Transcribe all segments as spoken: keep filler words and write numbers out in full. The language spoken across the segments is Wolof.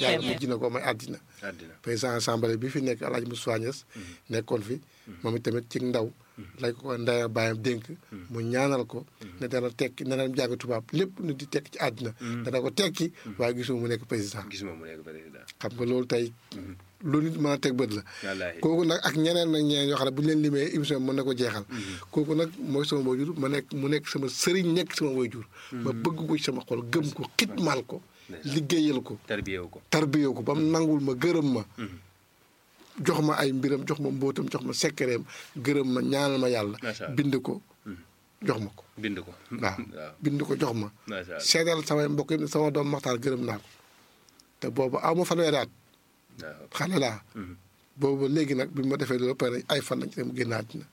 yàlla mujj na ko may àddina président assemblée bi fi nekk Alaaji Moussa Niass nekkoon fi moom itamit ci ndaw lañ ko ndaya bàyyam dénk mu ñaanal ko ne dana tekki ne dana jàng tubaab lépp nu di tekki ci àddina dana ko tekki waaye gisuma mu nekk président gisuma mu nekk président xam nga loolu tey lu nit mën a teg bët la kooku nag ak ñeneen nag ñeneen yoo xam ne bu ñu leen limee émission mën na ko jeexal kooku nag mooy sama waajur ma nekk mu nekk sama sëriñ nekk sama waajur ma bëgg ko ci sama xol gëm ko xitmaal ko liggéeyal ko tarbiyewu ko tarbiyewu ko ba mu nangul ma gërëm ma jox ma ay mbiram jox ma mbóotam jox ma sekkereem gërëm ma ñaanal ma yàlla bind ko jox ma ko bind ko waaw bind ko jox ma seedal samay mbokk yi sama doom Maxtaar gërëm naa ko te boobu aw ma fanweeri at xale laa boobu léegi nag bi ma defee loolu pare ay fan lañ ci mu génn àddina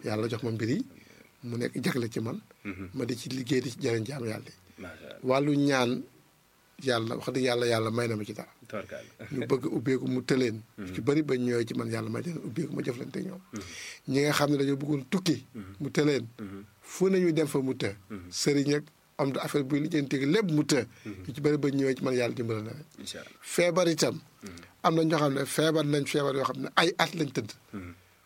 yàlla jox ma mbir yi mu nekk jagle ci man ma di ci liggéey di ci jëriñ jaam yàlla yi wàllu ñaan yàlla wax dëgg yàlla yàlla may na ma ci dara ñu bëgg ubbeeku mu tëleen ci bëri ba ñëwee ci man yàlla may leen ubbeeku ma jëflante ñoom ñi nga xam ne dañoo bëggoon tukki mu tëleen fu nañu dem fa mu të sëriñ ak am da affaire buy lijjanti lépp mu të ñu ci bëri ba ñëwee ci man yàlla dimbala na leen feebar itam am na ñoo xam ne feebar nañ feebar yoo xam ne ay at lañ tëdd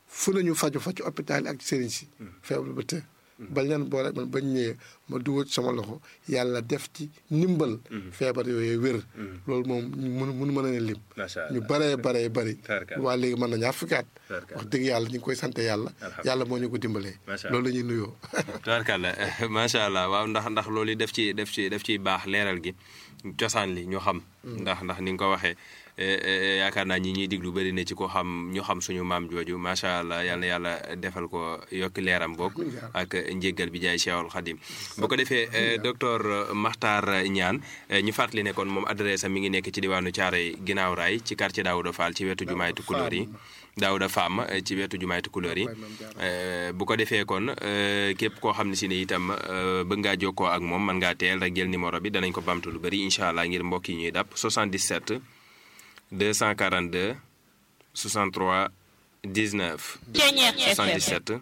fu nañu faju fa ci hôpital ak sëriñ si feebar ba të ba leen boole man bañ ñëwee ma dugal ci sama loxo yàlla def ci ndimbal feebar yooyu wér loolu moom mënu mënu mën a ne lim ñu baree baree bëri waa léegi mën na ñaar fukki at wax dëgg yàlla ñu ngi koy sant yàlla yàlla moo ñu ko dimbalee loolu la ñuy nuyoo tubaarkàlla macha allah waaw ndax ndax loolu def ci def ci def ciy baax leeral gi cosaan li ñu xam ndax ndax ni nga ko waxee yaakaar naa ñi ñuy diglu bëri na ci ko xam ñu xam suñu maam jooju macha allah yal na yàlla defal ko yokki leeram boog ak njéggal bi jaay Cheikhul Khadim bu ko defee docteur Makhtar Niane ñu fàttali ne kon moom adresse am mi ngi nekk ci diwaanu Thiaroye ginnaaw raay ci quartier Daouda Fall ci wetu jumaay Tukulóor yi Daouda Fam ci wetu jumaay Tukulóor yi bu ko defee kon képp koo xam ne si ne itam bëgg ngaa jokkoo ak moom mën ngaa teel rek jël numéro bi danañ ko bamtu lu bëri incha allah ngir mbokk yi ñuy dàpp soixante-dix-sept deux cent quarante-deux soixante-trois dix-neuf soixante-dix-sept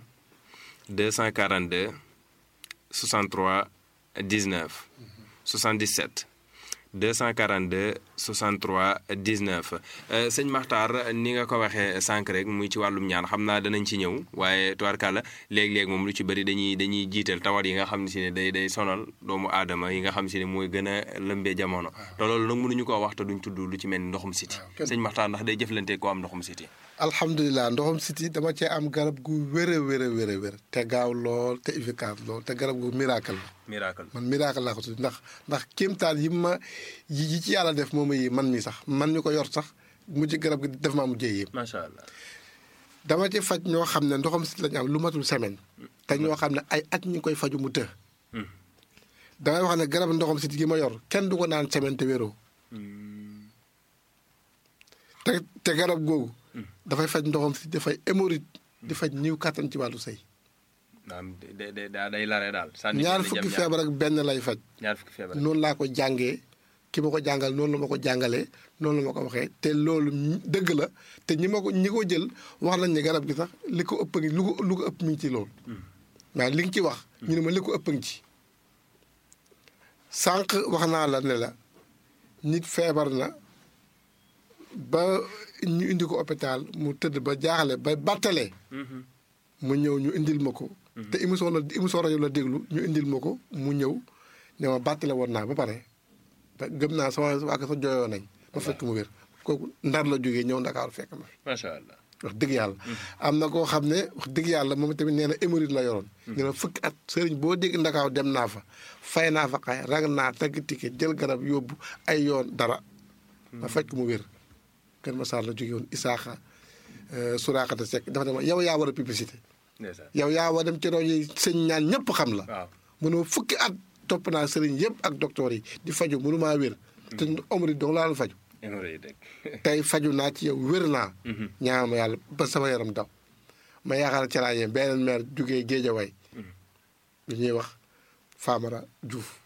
deux cent quarante-deux soixante-trois dix-neuf soixante-dix-sept deux cent quarante-deux soixante-trois dix-neuf sëñ Makhtar ni nga ko waxee sànq rek muy ci wàllum ñaan xam naa danañ ci ñëw waaye tubaarkàlla léeg-léeg moom lu ci bëri dañuy dañuy jiital tawat yi nga xam ne si ne day day sonal doomu aadama yi nga xam si ne mooy gën a lëmbee jamono te loolu nag mënuñu koo wax te duñ tudd lu ci mel ni ndoxum siti sëñ Makhtar ndax day jëflante koo am ndoxum siti alhamdulilah ndoxum siti dama cee am garab gu wér a wér a wér a wér te gaaw lool te efficace lool te garab gu miracle la miracle man miracle laa ko tudd ndax ndax kéemtaan yi ma yi ci yàlla def moom yi man mi sax man ñu ko yor sax mujj garab gi def maa mujjee yëpp macha allah dama ci faj ñoo xam ne ndoxam siti lañu am lu matul semaine te ñoo xam ne ay at ñu ngi koy faju mu të damay wax ne garab ndoxam siti gi ma yor kenn du ko naan semaine te wéroo te te garab googu dafay faj ndoxam siti dafay hémorroïde di faj niw kàttan ci wàllu sëy day lare daal ñaar fukki feebar ak benn lay faj ñaar fukki feebar noonu laa ko jàngee ki ma ko jàngal noonu la ma ko jàngalee noonu la ma ko waxee te loolu dëgg la te ñi ma ko ñi ko jël wax nañ ne garab gi sax li ko ëpp ngi lu ko lu ko ëpp mi ngi ci loolu waaw li nga ci wax ñu ne ma li ko ëpp ngi ci sànq wax naa la ne la nit feebar na ba ñu indi ko hôpital mu tëdd ba jaaxle ba battalee mu ñëw ñu indil ma ko te émission la émission rajo la déglu ñu indil ma ko mu ñëw ne ma battale woon naa ba pare gëm naa sama waa sa jooyoo nañ ma fekk mu wér kooku ndar la jógee ñëw Ndakaaru fekk ma macha allah wax dëgg yàlla am na koo xam ne wax dëgg yàlla moom tamit nee na hémorroïde la yoroon nee na fukki at sëriñ boo dégg Ndakaaru dem naa fa fay naa fa xay rag naa tagg ticket jël garab yóbbu ay yoon dara ma fekk mu wér Kër Massar la jógee woon Isaaxa Suraakata Seck dafa ne yow yaa war a publicité yow yaa war dem ci rajo yi sëñ ñaan ñëpp xam la mënoo fukki at topp naa sëriñ yëpp ak docteur yi di faju mënu maa wér te hémorroïde dong laa la faju tey faju naa ci yow wér naa ñaan ma yàlla ba sama yaram daw ma yaakaar ci laa yem beneen maire jógee Géejawaay lu ñuy wax Famara Diouf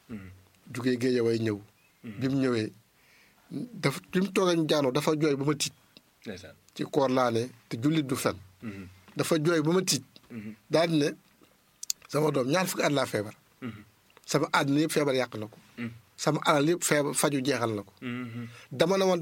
jógee Géejawaay ñëw bi mu ñëwee dafa bi mu toogee jaanoo dafa jooy ba ma tiit ci koor laa ne te jullit du fen dafa jooy ba ma tiit daal di ne sama doom ñaar fukki at laa feebar sama àddina yëpp feebar yàq na ko sama alal yëpp feebar faju jeexal na ko dama ne woon